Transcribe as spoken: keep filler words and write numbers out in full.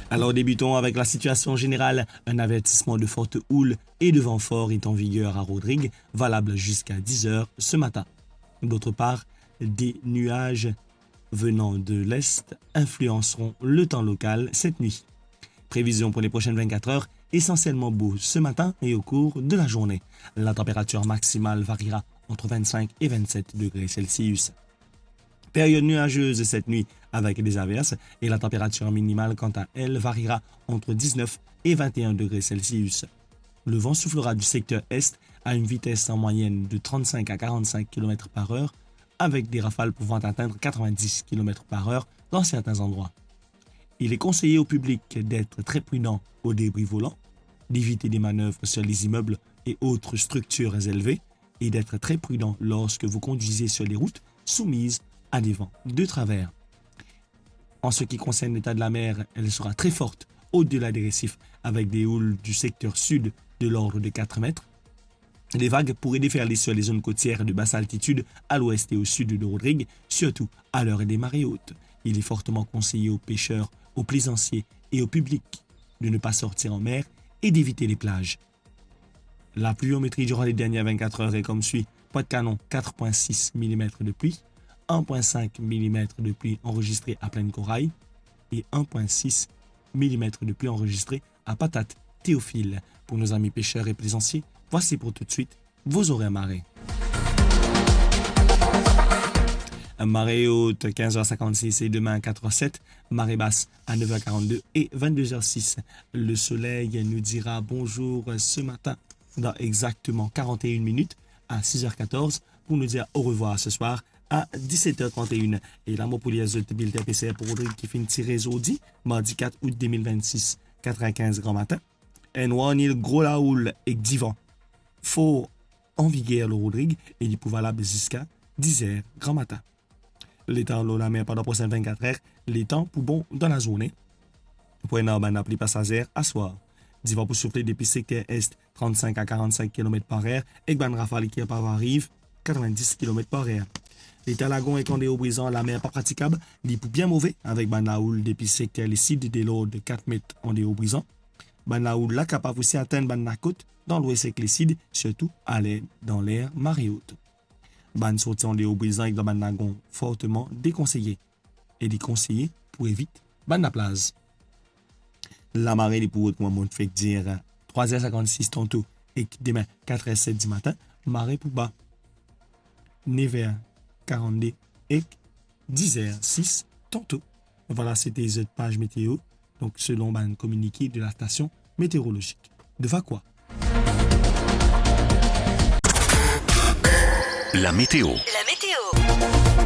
Alors débutons avec la situation générale. Un avertissement de forte houle et de vent fort est en vigueur à Rodrigues, valable jusqu'à dix heures ce matin. D'autre part, des nuages venant de l'est influenceront le temps local cette nuit. Prévision pour les prochaines vingt-quatre heures, essentiellement beau ce matin et au cours de la journée. La température maximale variera entre vingt-cinq et vingt-sept degrés Celsius. Période nuageuse cette nuit avec des averses et la température minimale, quant à elle, variera entre dix-neuf et vingt et un degrés Celsius. Le vent soufflera du secteur est à une vitesse en moyenne de trente-cinq à quarante-cinq kilomètres par heure, avec des rafales pouvant atteindre quatre-vingt-dix kilomètres par heure dans certains endroits. Il est conseillé au public d'être très prudent au débris volant, d'éviter des manœuvres sur les immeubles et autres structures élevées et d'être très prudent lorsque vous conduisez sur les routes soumises à des vents de travers. En ce qui concerne l'état de la mer, elle sera très forte au-delà des récifs, avec des houles du secteur sud de l'ordre de quatre mètres. Les vagues pourraient déferler sur les zones côtières de basse altitude à l'ouest et au sud de Rodrigues, surtout à l'heure des marées hautes. Il est fortement conseillé aux pêcheurs, aux plaisanciers et au public de ne pas sortir en mer et d'éviter les plages. La pluviométrie durant les dernières vingt-quatre heures est comme suit. Pointe-Canon, quatre point six millimètres de pluie, un point cinq millimètres de pluie enregistrée à Plaine Corail et un point six millimètres de pluie enregistrée à Patate, Théophile. Pour nos amis pêcheurs et plaisanciers, voici pour tout de suite vos horaires marée. Marée haute, quinze heures cinquante-six et demain, quatre heures sept. Marée basse à neuf heures quarante-deux et vingt-deux heures six. Le soleil nous dira bonjour ce matin dans exactement quarante et une minutes à six heures quatorze pour nous dire au revoir ce soir à dix-sept heures trente et une. E la mo pou lir zot bilten PCR pou Rodrig ki finn tire zordi, mardi quatre août deux mille vingt-six, quatre-vingt-quinze gran matin. Enn war nil, gro lahoul ek divan for an viger lor Rodrig e li pou valab ziska dix heures gran matin. Letan lor lamer pandan prosin vingt-quatre heures, letan pou bon dan lazourne. Pou ena bann lapli pasazer aswar. Divan pou soufle depi sekter est, trente-cinq à quarante-cinq kilomètres par heure, ek bann rafal ki kapav ariv quatre-vingt-dix kilomètres par heure. Leta lagon ek andeor Brizan, lamer pa pratikab, li pou bien move, avek bann lahoul depi sekter lesid de lord de quatre mètres andeor Brizan. Bann lahoul la kapav osi atenn bann lakot dan lwes ek lesid, sirtou aler dan ler mare ot. Bann sorti andeor Brizan ek dan bann lagon forteman dekonseye. E li konseye pou evit bann laplaz. Lamare li pou rod kouma monn fek dir, trwa er sinkant-sis tanto ek demin, kat er set dimatin, mare pou ba, nef er karant-de ek dis er sis tanto. Vwala, sete zot paz meteo, donk selon bann kominike de la stasion meteorolozik de Vacoas. La météo. La météo.